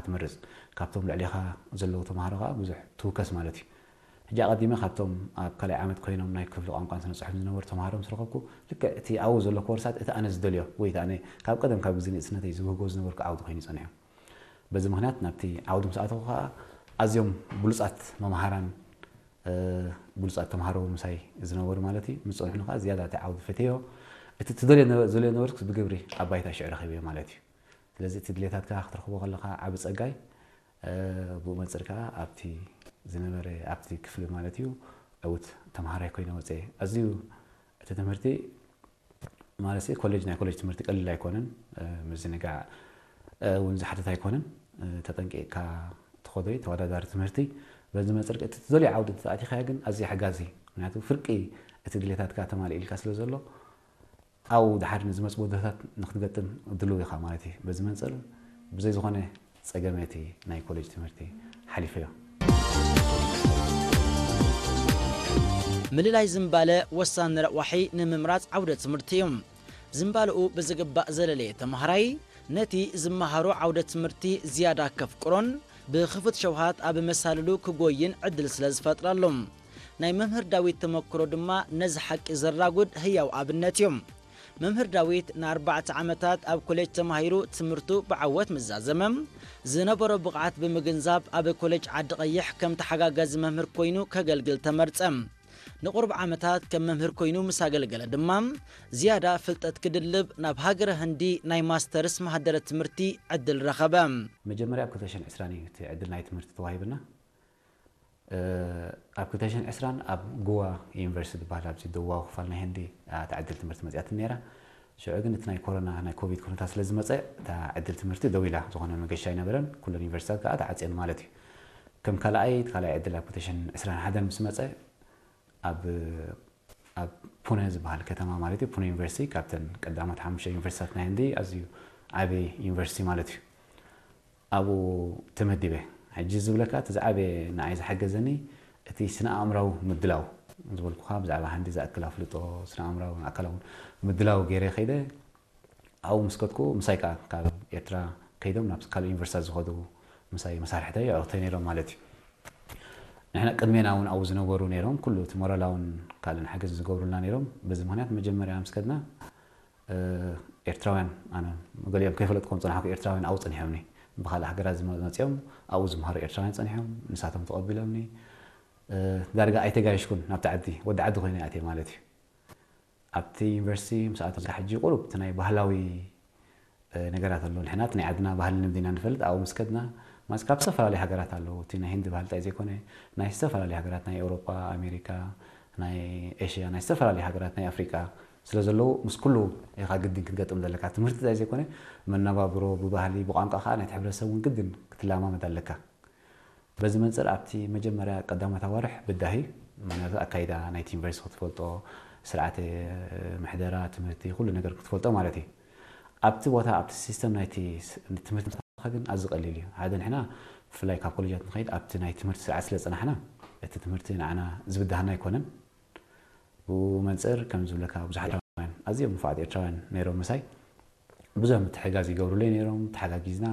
ትመርጽ። ካብቶም ልዕሌኻ ዘለዉ ተምሃሮ ከኣ ብዙሕ ትውከስ ማለት እዩ። ሕጂ ኣቐዲመ ካብቶም ኣብ ካልኣይ ዓመት ኮይኖም ናይ ክፍሊ ቋንቋን ስነ ጽሑፍን ዝነበሩ ተምሃሮ ምስ ረኸብኩ፣ ልክዕ እቲ ኣብኡ ዘሎ ኮርሳት እቲ ኣነ ዝደልዮ ወይ እቲ ኣነ ካብ ቀደም ካብ ግዜ ንእስነተይ ዝብህጎ ዝነበርኩ ዓውዲ ኮይኑ ይጸንሑ። በዚ ምኽንያት ናብቲ ዓውዲ ምስ ኣተኹ ከኣ ኣዝዮም ብሉጻት መምሃራን ብሉጻት ተምሃሮ ምሳይ ዝነበሩ ማለት እዩ ምስ ጸንሑኒ ከኣ ዝያዳ እቲ ዓውዲ ፈትየዮ። እቲ ትደልዮ ዝደልዮ ነበርኩስ ብግብሪ ኣብ ባይታ ሽዑ ረኺበዮ ማለት እዩ። ስለዚ እቲ ድሌታትካ ክትረኽቦ ከለኻ ዓቢ ጸጋይ ብኡ መጽር ከኣ ኣብቲ ዝነበረ ኣብቲ ክፍሊ ማለት እዩ ዕውት ተምሃራይ ኮይነ ወጸ። ኣዝዩ እቲ ትምህርቲ ማለት ኮሌጅ ናይ ኮሌጅ ትምህርቲ ቀሊል ኣይኮነን። ምዝንጋዕ እውን ዝሓትት ኣይኮነን። ተጠንቂቕካ ትኸዶ ተወዳዳሪ ትምህርቲ በዚ መፅር እቲ ትደልዮ ዓውዲ ተኣቲኻ ግን ኣዝዩ ሓጋዚ። ምክንያቱ ፍርቂ እቲ ድሌታትካ ተማልእ ኢልካ ስለ ዘሎ ኣብኡ ድሓር ንዝመፅ ወደታት ንክትገጥም ድልው ኢኻ ማለት እዩ። በዚ መንፅር ብዘይ ዝኾነ ጸገመቲ ናይ ኮሌጅ ትምህርቲ ሓሊፈዮ። ምልላይ ዝምባለ ወሳኒ ረቋሒ ንምምራፅ ዓውደ ትምህርቲ እዩ። ዝምባለኡ ብዝግባእ ዘለለየ ተምሃራይ ነቲ ዝመሃሮ ዓውደ ትምህርቲ ዝያዳ ከፍቅሮን ብኽፉት ሸውሃት ኣብ መሳልሉ ክጎይን ዕድል ስለ ዝፈጥረሉ፣ ናይ መምህር ዳዊት ተመክሮ ድማ ነዚ ሓቂ ዘራጉድ ህያው ኣብነት እዩ። መምህር ዳዊት ንኣርባዕተ ዓመታት ኣብ ኮሌጅ ተማሂሩ ትምህርቱ ብዓወት ምስ ዛዘመ፣ ዝነበሮ ብቕዓት ብምግንዛብ ኣብ ኮሌጅ ዓዲ ቀይሕ ከም ተሓጋጋዚ መምህር ኮይኑ ከገልግል ተመርጸ። ንቑሩብ ዓመታት ከም መምህር ኮይኑ ምስ ኣገልገለ ድማ ዝያዳ ፍልጠት ክድልብ ናብ ሃገረ ህንዲ ናይ ማስተርስ መሃደረ ትምህርቲ ዕድል ረኸበ። መጀመርያ ኣብ ክልተ ሽሕን ዕስራን እዩ እቲ ዕድል ናይ ትምህርቲ ተዋሂብና። ኣብ ክልተ ሽሕን ዕስራን ኣብ ጎዋ ዩኒቨርሲቲ ዝበሃል ኣብዚ ደቡባዊ ክፋል ናይ ህንዲ እታ ዕድል ትምህርቲ መፅያትኒ ነይራ። ሽዑ ግን እቲ ናይ ኮሮና ናይ ኮቪድ ኩነታት ስለ ዝመፀ እታ ዕድል ትምህርቲ ደው ኢላ፣ ዝኾነ መገሻ ኣይነበረን። ኩለን ዩኒቨርሲታት ከዓ ተዓፅየን ማለት እዩ። ከም ካልኣይ እቲ ካልኣይ ዕድል ኣብ ክልተ ሽሕን ዕስራን ሓደን ምስ መፀ ኣብ ኣብ ፑነ ዝበሃል ከተማ ማለት እዩ። ፑነ ዩኒቨርሲቲ ካብተን ቀዳሞት ሓሙሽተ ዩኒቨርሲታት ናይ ህንዲ ኣዝዩ ዓብዪ ዩኒቨርሲቲ ማለት እዩ። ኣብኡ ተመዲበ። ሕጂ ዝብለካ እቲ ዝዓበየ ንዓይ ዝሓገዘኒ እቲ ስነ ኣእምራዊ ምድላው ዝበልኩኻ ብዛዕባ ሃንዲ ዝኣክል ኣፍልጦ ስነ ኣእምራዊ ኣካላዊ ምድላው ገይረ ከይደ ኣብኡ ምስ ከድኩ ምሳይ ከዓ ካብ ኤርትራ ከይዶም ናብ ካልእ ዩኒቨርሲታት ዝኸዱ ምሳይ መሳርሕተይ ኣዕሩኽተይ ነይሮም ማለት እዩ። ንሕና ቅድሜና እውን ኣብኡ ዝነበሩ ነይሮም ኩሉ እቲ ሞራላውን ካልእን ሓገዝ ዝገብሩልና ነይሮም። በዚ ምክንያት መጀመርያ ምስ ከድና ኤርትራውያን ኣነ ገሊኦም ከይፈለጥኩም ዝፀናሕኩ ኤርትራውያን ኣብኡ ፀኒሖምኒ። ብካልእ ሃገራት ዝመፅኦም ኣብኡ ዝምሃሩ ኤርትራውያን ፀኒሖም ንሳቶም ተቐቢሎምኒ። ዳርጋ ኣይተጋየሽኩን ናብቲ ዓዲ ወዲ ዓዲ ኮይነ ኣትየ ማለት እዩ። ኣብቲ ዩኒቨርሲቲ ምስ ኣተው ሕጂ ቁሩብ እቲ ናይ ባህላዊ ነገራት ኣሎ። ንሕና እቲ ናይ ዓድና ባህሊ ልምዲ ኢና ንፈልጥ። ኣብኡ ምስ ከድና ማለት ካብ ዝተፈላለዩ ሃገራት ኣለዉ። እቲ ናይ ህንዲ ባህሊ ጥራይ ዘይኮነ ናይ ዝተፈላለዩ ሃገራት ናይ ኤውሮጳ፣ ኣሜሪካ፣ ናይ ኤሽያ፣ ናይ ዝተፈላለዩ ሃገራት ናይ ኣፍሪቃ ስለ ዘለዉ ምስ ኩሉ ኢኻ ግድን ክትገጥም ዘለካ። ትምህርቲ ጥራይ ዘይኮነ መነባብሮ፣ ብባህሊ፣ ብቋንቋ ከዓ ናይቲ ሕብረተሰብ እውን ግድን ክትለማመድ ኣለካ። በዚ መንፅር ኣብቲ መጀመርያ ቀዳሞት ኣዋርሕ ብዳሂ ምክንያቱ ኣካይዳ ናይቲ ዩኒቨርሲቲ ክትፈልጦ ስርዓተ ምሕደራ ትምህርቲ ኩሉ ነገር ክትፈልጦ ማለት እዩ። ኣብቲ ቦታ ኣብቲ ሲስተም ናይቲ ትምህርቲ ምስታፍካ ግን ኣዝዩ ቀሊል እዩ። ሓደ ንሕና ብፍላይ ካብ ኮሌጃት ንኸይድ ኣብቲ ናይ ትምህርቲ ስርዓት ስለ ዝፀናሕና እቲ ትምህርቲ ንዓና ዝብድሃና ኣይኮነን። ብኡ መንፅር ከም ዝብለካ ብዙሓት ኤርትራውያን ኣዝዮም ንፉዓት ኤርትራውያን ነይሮም ምሳይ ብዙሕ ምትሕጋዝ ይገብሩለይ ነይሮም። ተሓጋጊዝና